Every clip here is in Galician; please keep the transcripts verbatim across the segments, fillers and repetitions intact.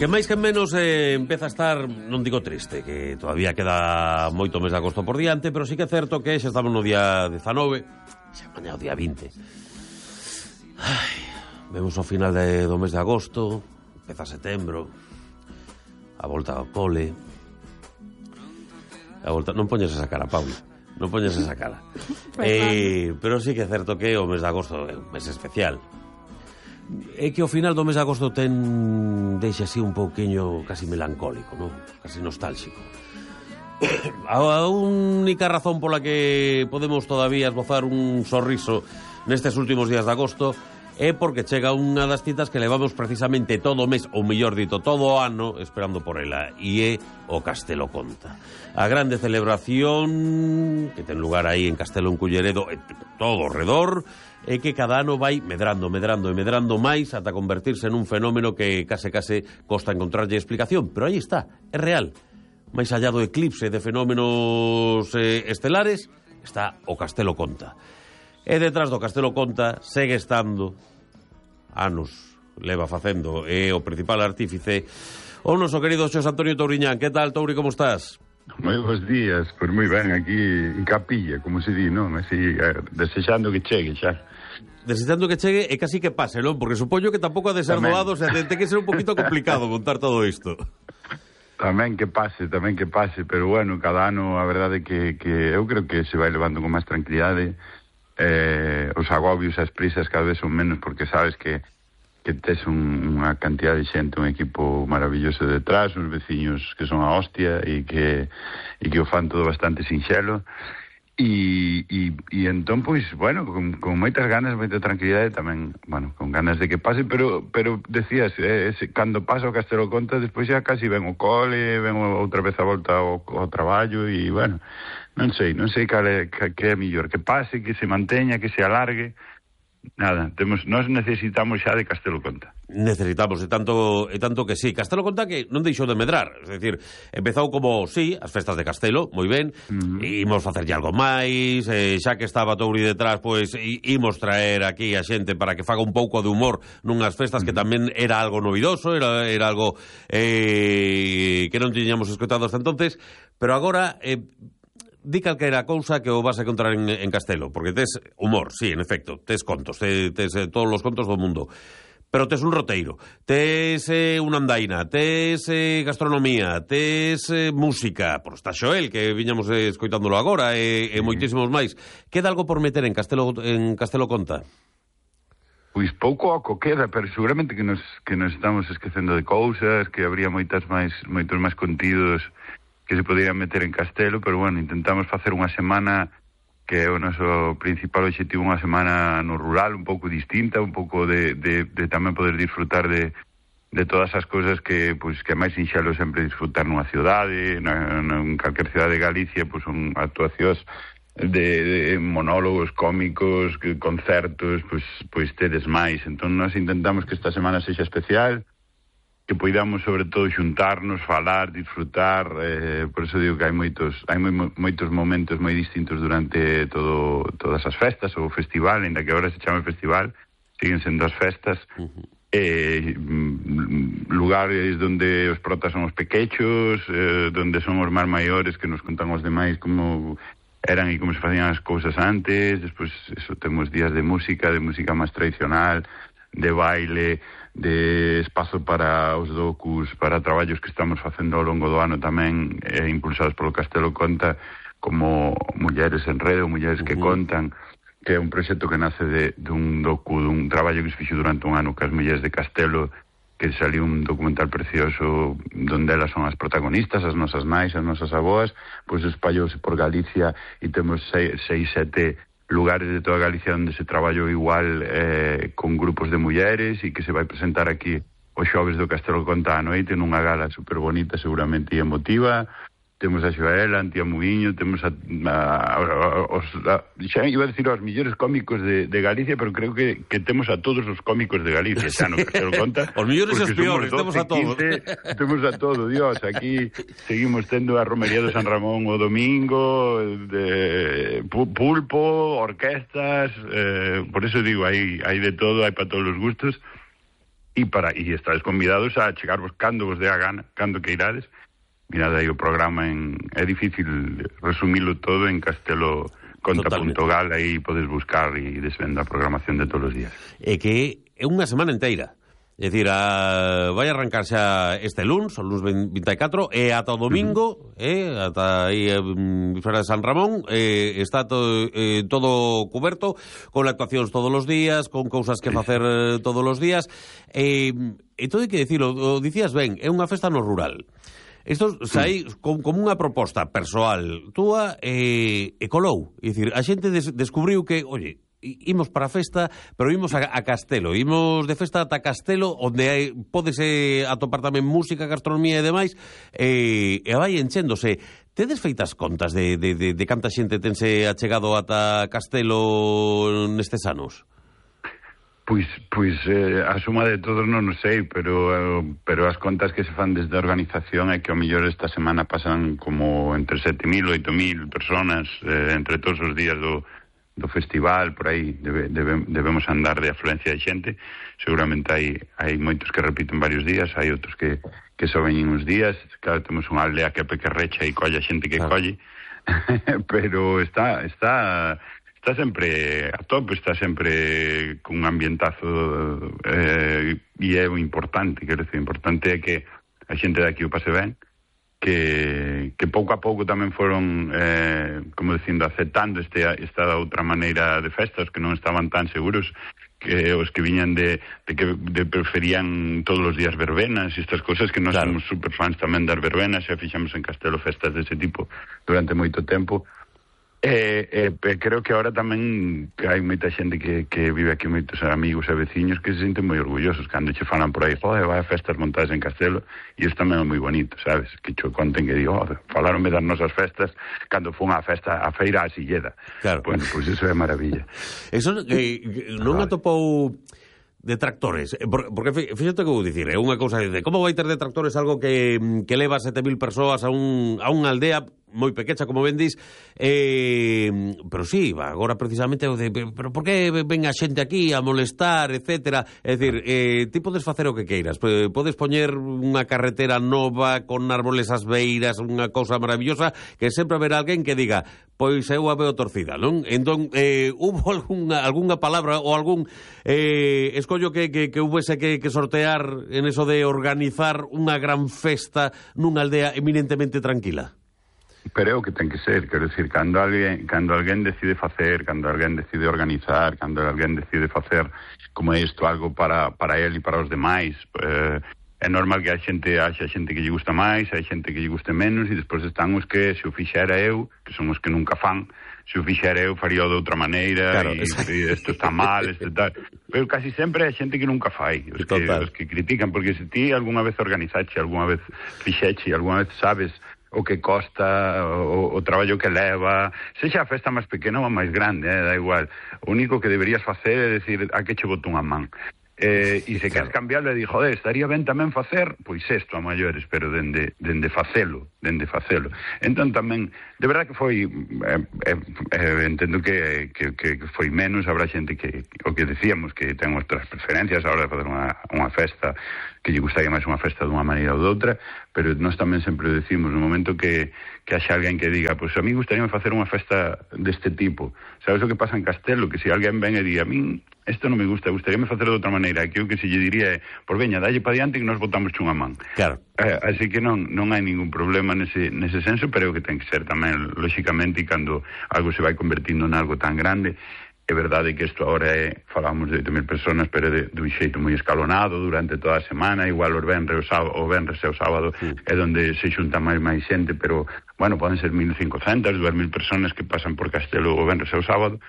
Que máis que menos eh, empeza a estar, non digo triste, que todavía queda moito mes de agosto por diante, pero sí que é certo que xa estamos no día dezanove, xa mañá o día vinte. Ai, vemos o final de, do mes de agosto, empeza setembro, a volta ao cole. A volta, non poñes esa cara, Paula, non poñes esa cara. eh, pero sí que é certo que o mes de agosto é un mes especial. É que ao final do mes de agosto ten deixa así un pouquiño casi melancólico, non? Casi nostálxico. A única razón pola que podemos todavía esbozar un sorriso nestes últimos días de agosto é porque chega unha das citas que levamos precisamente todo o mes, ou mellor dito, todo o ano esperando por ela, e é o Castelo Conta. A grande celebración que ten lugar aí en Castelo en Culleredo, e todo o redor, é que cada ano vai medrando, medrando e medrando máis ata convertirse en un fenómeno que case case costa encontrarlle explicación, pero aí está, é real. Máis allá do eclipse de fenómenos eh, estelares está o Castelo Conta. E detrás do Castelo Conta segue estando, anos leva facendo, é o principal artífice, o noso querido Xosé Antonio Touriñán. Que tal, Touri, como estás? Moi bons días, pois moi ben, aquí en Capilla, como se di, non? Así, desexando que chegue xa. Desexando que chegue e casi que pase, non? Porque supoño que tampouco ha de ser doado, o sea, ten que ser un poquito complicado contar todo isto. Tamén que pase, tamén que pase, pero bueno, cada ano a verdade que, que eu creo que se vai levando con máis tranquilidade, eh, os agobios, as prisas cada vez son menos, porque sabes que que tes un, unha cantidad de xente, un equipo maravilloso detrás, uns veciños que son a hostia e que, e que o fan todo bastante sinxelo. E, e, e entón, pois, bueno, con, con moitas ganas, moita tranquilidade tamén, bueno, con ganas de que pase, pero pero decías, eh, ese, cando pasa o Castelo Conta, despois xa casi ven o cole, ven outra vez a volta ao, ao traballo, e, bueno, non sei, non sei cal é, que, que é mellor, que pase, que se manteña, que se alargue. Nada, temos, nós necesitamos xa de Castelo Conta. Necesitamos, e tanto, e tanto que sí. Castelo Conta que non deixou de medrar, é dicir, empezou como, sí, as festas de Castelo, moi ben, uh-huh. Imos facerlle algo máis, eh, xa que estaba Touri detrás, pois imos traer aquí a xente para que faga un pouco de humor nunhas festas uh-huh. que tamén era algo novidoso, era, era algo eh, que non tiñamos escoitado hasta entonces, pero agora... Eh, di calquera cousa que o vas a encontrar en, en Castelo, porque tes humor, sí, en efecto, tes contos, tes, tes eh, todos os contos do mundo, pero tes un roteiro, tes eh, unha andaina, tes eh, gastronomía, tes eh, música, por está Xoel, que viñamos eh, escoitándolo agora, e, e moitísimos máis. Queda algo por meter en Castelo, en Castelo Conta? Pois pouco oco queda, pero seguramente que nos, que nos estamos esquecendo de cousas, que habría moitas máis, moitos máis contidos que se poderían meter en Castelo, pero bueno, intentamos facer unha semana que é o noso principal objetivo, unha semana no rural, un pouco distinta, un pouco de, de, de tamén poder disfrutar de, de todas as cousas que, pues, que é máis sinxelo sempre disfrutar nunha cidade, na, na, en calquer cidade de Galicia, pues, son actuacións de, de monólogos cómicos, que, concertos, pues, pues tedes máis. Entón, nós intentamos que esta semana sexa especial, que poidamos sobre todo xuntarnos, falar, disfrutar, eh, por eso digo que hai moitos hai moi, moitos momentos moi distintos durante todo todas as festas ou o festival, ainda que agora se chame festival, siguen sendo as festas. Uh-huh. eh, lugares donde os protas son os pequechos, eh, donde son os máis maiores que nos contan os demais como eran e como se facían as cousas antes. Despois eso, temos días de música, de música máis tradicional, de baile, de espazo para os docus, para traballos que estamos facendo ao longo do ano tamén, eh, impulsados polo Castelo Conta, como Mulleres en Rede, Mulleres uh-huh. que contan, que é un proxecto que nace de, de un docu, dun traballo que se fixo durante un ano que as mulleres de Castelo, que saliu un documental precioso donde elas son as protagonistas, as nosas nais, as nosas aboas, pois espallouse por Galicia e temos seis, seis sete lugares de toda Galicia onde se traballou igual eh, con grupos de mulleres e que se vai presentar aquí os xoves do Castelo Conta a noite nunha gala super bonita, seguramente e emotiva. Temos a Xoela, a Antía Muiño, temos a, a, a, os, a, xa iba a decir aos millores cómicos de, de Galicia, pero creo que, que temos a todos os cómicos de Galicia, xa no Castelo Conta. Os millores e os peores, temos a todos. quince, temos a todo, Dios, aquí seguimos tendo a Romería de San Ramón o domingo, de pulpo, orquestas, eh, por eso digo, hai, hai de todo, hai para todos os gustos. e para e estades convidados a chegarvos cando vos dé a gana, cando que irades. Mirad aí o programa en... É difícil resumilo todo en Castelo Conta punto gal, aí podes buscar e desvenda a programación de todos os días. É que é unha semana inteira. É dicir, a... vai arrancar xa este luns, o luns vinte e catro, e ata o domingo, uh -huh. eh, ata aí en Bisbal de San Ramón, eh, está to, eh, todo cuberto, con actuacións todos os días, con cousas que facer eh, todos os días. E, e todo hai que dicilo, o dicías ben, é unha festa no rural. Isto sai como con unha proposta persoal túa e, e colou. É dicir, a xente des, descubriu que, oye, imos para a festa, pero imos a, a Castelo. Imos de festa ata Castelo, onde hai, pódese atopar tamén música, gastronomía e demais, e, e vai enchéndose. Tedes feitas contas de, de, de, de canta xente tense achegado ata Castelo nestes anos? Pois, pois eh, a suma de todos non o sei, pero eh, pero as contas que se fan desde a organización é que ao mellor esta semana pasan como entre sete mil, oito mil personas eh, entre todos os días do, do festival, por aí debe, debe, debemos andar de afluencia de xente. Seguramente hai, hai moitos que repiten varios días, hai outros que, que só veñen uns días. Claro, temos unha aldea que pequerrecha e colle a xente que claro. colle, pero está... está Está sempre a tope, está sempre cun ambientazo eh, e é o importante, quero decir, o importante é que a xente de aquí o pase ben, que, que pouco a pouco tamén foron, eh, como dicindo, aceptando este, esta outra maneira de festas, que non estaban tan seguros, que os que viñan de, de que de preferían todos os días verbenas e estas cousas, que nós claro. somos super fans tamén das verbenas, e fixamos en Castelo festas dese tipo durante moito tempo. E, e, e creo que agora tamén que hai moita xente que, que vive aquí, moitos amigos e veciños que se senten moi orgullosos cando che falan por aí, joder, vai a festas montadas en Castelo, e isto tamén é moi bonito, sabes, que cho conten que digo, oh, falaronme das nosas festas cando fun a festa, a feira a Silleda. Claro. Bueno, pois pues eso é maravilla. Eso eh, non atopou detractores, porque fíxate que vou dicir, é unha cousa de como vai ter detractores algo que, que leva sete mil persoas a, un, a unha aldea moi pequecha, como ben dis, eh, pero sí, agora precisamente de, pero por que ven a xente aquí a molestar, etcétera, é dicir, eh, ti podes facer o que queiras, podes poñer unha carretera nova con árboles ás beiras, unha cousa maravillosa, que sempre haberá alguén que diga, pois eu a veo torcida, non? Entón, eh, hubo algunha, algunha palabra ou algún eh, escollo que, que, que hubese que, que sortear en eso de organizar unha gran festa nunha aldea eminentemente tranquila? Pero é o que ten que ser, quero dicir, cando alguén, cando alguén decide facer, cando alguén decide organizar, cando alguén decide facer como isto algo para, para él e para os demais, eh, é normal que a xente haxa xente que lle gusta máis, hai xente que lle guste menos, e despois están os que, se o fixera eu, que son os que nunca fan, se o fixera eu faría de outra maneira, claro, e, e isto está mal, isto tal. Pero casi sempre hai xente que nunca fai, os que, os que critican, porque se ti algunha vez organizache, algunha vez fixeche, algunha vez sabes o que costa, o, o traballo que leva, sexa a festa máis pequena ou máis grande, eh, da igual. O único que deberías facer é decir a que che boto unha man. Eh, e se claro. queres cambiarlo e di, joder, estaría ben tamén facer, pois isto a maiores, pero dende, dende facelo, dende facelo. Entón tamén, de verdad que foi, eh, eh, eh, entendo que, que, que foi menos, habrá xente que, o que decíamos, que ten outras preferencias a hora de fazer unha, unha festa, que lle gustaría máis unha festa dunha maneira ou doutra, pero nós tamén sempre decimos, no momento que, que haxa alguén que diga, pois a mí gustaría facer unha festa deste tipo, sabes o que pasa en Castelo, que se alguén ven e di, a mí isto non me gusta, gustaríame facer de outra maneira, que o que se lle diría é, por veña, dalle pa diante que nos botamos chunha man. Claro. Eh, así que non non hai ningún problema nese, nese senso, pero é o que ten que ser tamén, lóxicamente, cando algo se vai convertindo en algo tan grande. É verdade que isto agora é, falamos de oito mil personas, pero de, de un xeito moi escalonado durante toda a semana, igual os venres o, sábado, o venres e o sábado sí. é onde se xunta máis máis xente, pero, bueno, poden ser mil cincocentas, dúas mil personas que pasan por Castelo o venres e o sábado,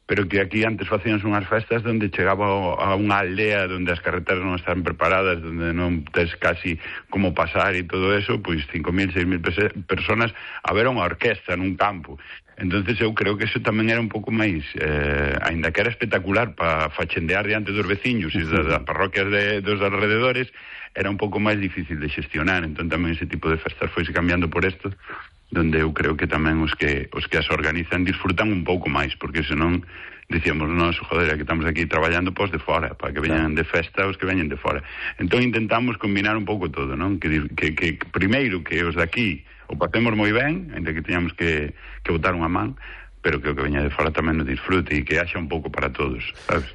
pero que aquí antes facíanse unhas festas onde chegaba a unha aldea onde as carreteras non están preparadas, onde non tes casi como pasar e todo eso, pois cinco mil, seis mil personas a ver unha orquesta nun campo. Entonces eu creo que eso tamén era un pouco máis, eh, aínda que era espectacular para fachendear diante dos veciños e das, das parroquias de, dos alrededores, era un pouco máis difícil de xestionar. Entón tamén ese tipo de festas foise cambiando por esto, donde eu creo que tamén os que os que as organizan disfrutan un pouco máis, porque senón dicíamos, nós, joder, que estamos aquí traballando pos de fora, para que veñan de festa os que veñen de fora. Entón intentamos combinar un pouco todo, non? Que, que, que primeiro que os de aquí o facemos moi ben, ainda que teñamos que, que botar unha man, pero que o que veña de fora tamén nos disfrute e que haxa un pouco para todos, sabes?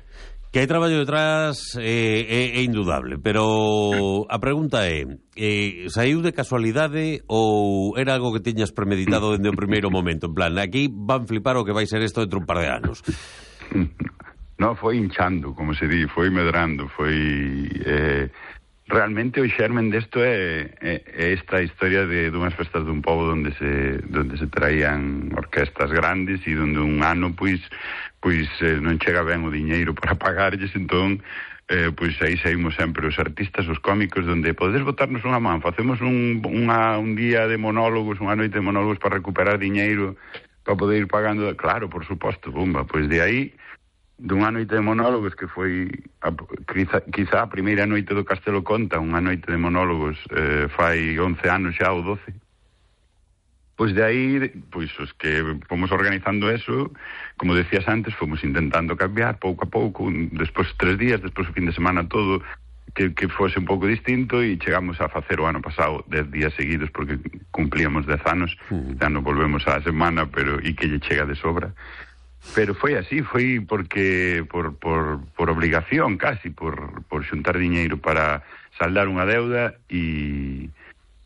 Que hai traballo detrás é, é, é indudable, pero a pregunta é, eh, saiu de casualidade ou era algo que tiñas premeditado dende o primeiro momento? En plan, aquí van flipar o que vai ser isto dentro un par de anos. No, foi hinchando, como se di, foi medrando, foi... Eh, realmente o xermen desto é, é, é esta historia de dunhas festas dun pobo onde se, donde se traían orquestas grandes e onde un ano, pois... pois eh, non chega ben o diñeiro para pagarlles, entón eh, pois aí saímos sempre os artistas, os cómicos, donde podes botarnos unha man, facemos un, unha, un día de monólogos, unha noite de monólogos para recuperar diñeiro para poder ir pagando, claro, por suposto, bomba, pois de aí dunha noite de monólogos que foi a, quizá, quizá a primeira noite do Castelo Conta, unha noite de monólogos eh, fai once anos xa ou doce. Pois de aí, pois os que fomos organizando eso, como decías antes, fomos intentando cambiar pouco a pouco, despois tres días, despois o fin de semana todo, que, que fose un pouco distinto, e chegamos a facer o ano pasado dez días seguidos, porque cumplíamos dez anos, mm. xa non volvemos á semana, pero e que lle chega de sobra. Pero foi así, foi porque por, por, por obligación casi, por, por xuntar diñeiro para saldar unha deuda, e...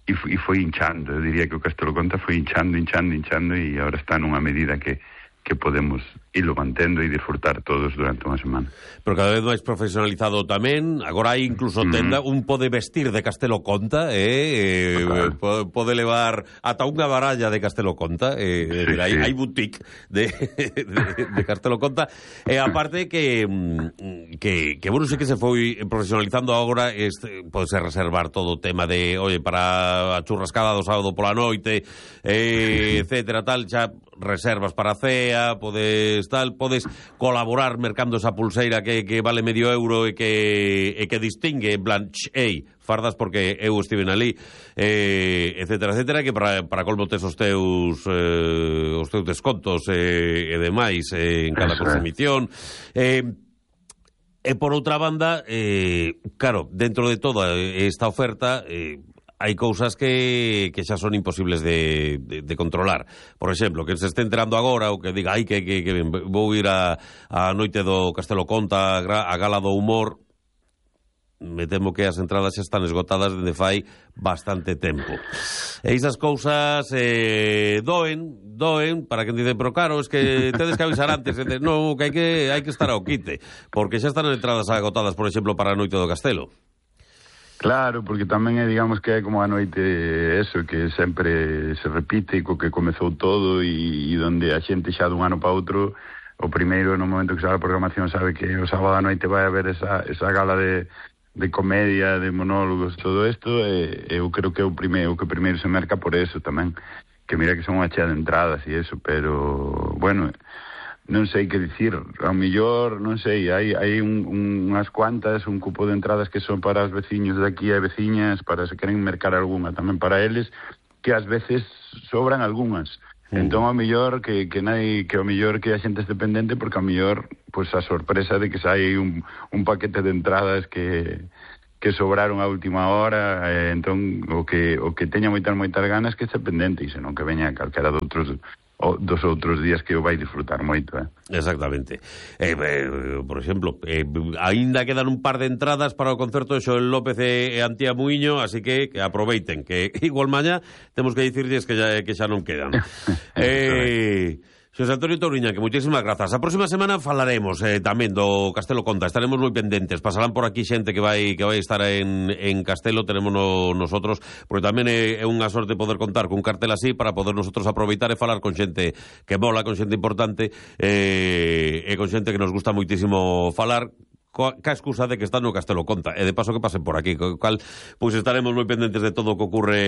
E foi, e foi hinchando, eu diría que o Castelo Conta foi hinchando, hinchando, hinchando, e agora está nunha medida que, que podemos irlo mantendo e disfrutar todos durante unha semana. Pero cada vez máis profesionalizado tamén, agora hai incluso tenda, mm. un pode vestir de Castelo Conta, eh, eh claro. pode levar ata unha baralla de Castelo Conta, eh, sí, hai, sí. hai boutique de, de, de Castelo Conta, e aparte que, que, que bueno, sei que se foi profesionalizando agora, este, pode reservar todo o tema de, oye, para a churrascada do sábado pola noite, eh, etcétera, tal, xa reservas para a cea, podes tal, podes colaborar mercando esa pulseira que, que vale medio euro e que, e que distingue, en plan, ei, fardas porque eu estiven ali, eh, etcétera, etcétera, que para, para colmo tes os teus eh, os teus descontos eh, e demais eh, en cada consumición. Eh, e por outra banda, eh, claro, dentro de toda esta oferta, eh, hai cousas que, que xa son imposibles de, de, de controlar. Por exemplo, que se este enterando agora ou que diga, ai, que, que, que vou ir a, a noite do Castelo Conta, a gala do humor, me temo que as entradas xa están esgotadas dende fai bastante tempo. E esas cousas eh, doen, doen, para quen dice, pero claro, es que tedes que avisar antes, de, no, que hai que hai que estar ao quite, porque xa están entradas agotadas, por exemplo, para a noite do Castelo. Claro, porque tamén é, digamos, que é como a noite eso, que sempre se repite, co que comezou todo, e, e donde a xente xa dun ano para outro, o primeiro, no momento que sabe a programación, sabe que o sábado a noite vai haber esa, esa gala de, de comedia, de monólogos, todo isto, e eu creo que é o primeiro, que primeiro se merca por eso tamén, que mira que son unha chea de entradas e eso, pero, bueno... non sei que dicir, ao millor, non sei, hai, hai un, un, unhas cuantas, un cupo de entradas que son para os veciños de aquí e veciñas, para se queren mercar algunha tamén para eles, que ás veces sobran algunhas. Mm. Entón, ao millor, que, que, nai, que ao millor que a xente este pendente, porque ao millor, pois pues, a sorpresa de que sai un, un paquete de entradas que... que sobraron a última hora, eh, entón, o que, o que teña moitas, moitas ganas que este pendente, e senón que veña calquera de outros... o dos outros días que o vai disfrutar moito, eh? Exactamente. Eh, eh, por exemplo, eh, aínda quedan un par de entradas para o concerto de Xoel López e Antía Muiño, así que, que aproveiten, que igual mañá temos que dicirlles que xa, que xa non quedan. eh... Xosé Antonio Touriñán, que moitísimas grazas. A próxima semana falaremos eh, tamén do Castelo Conta. Estaremos moi pendentes. Pasarán por aquí xente que vai que vai estar en, en Castelo. Tenemos no, nosotros, porque tamén é, é unha sorte poder contar con un cartel así para poder nosotros aproveitar e falar con xente que mola, con xente importante eh, e con xente que nos gusta moitísimo falar, ca excusa de que está no Castelo Conta e de paso que pasen por aquí, co cal pois estaremos moi pendentes de todo o que ocurre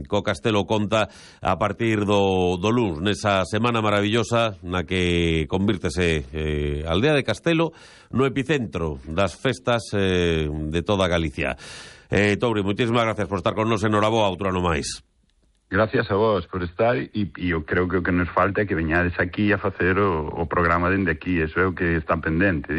co Castelo Conta a partir do, do luns, nesa semana maravillosa na que convírtese eh, Aldea de Castelo no epicentro das festas eh, de toda Galicia. eh, Touri, moitísimas gracias por estar con nos, enhoraboa, outro ano máis. Gracias a vos por estar e, e eu creo que o que nos falta é que veñades aquí a facer o, o programa dende aquí, eso é o que está pendente.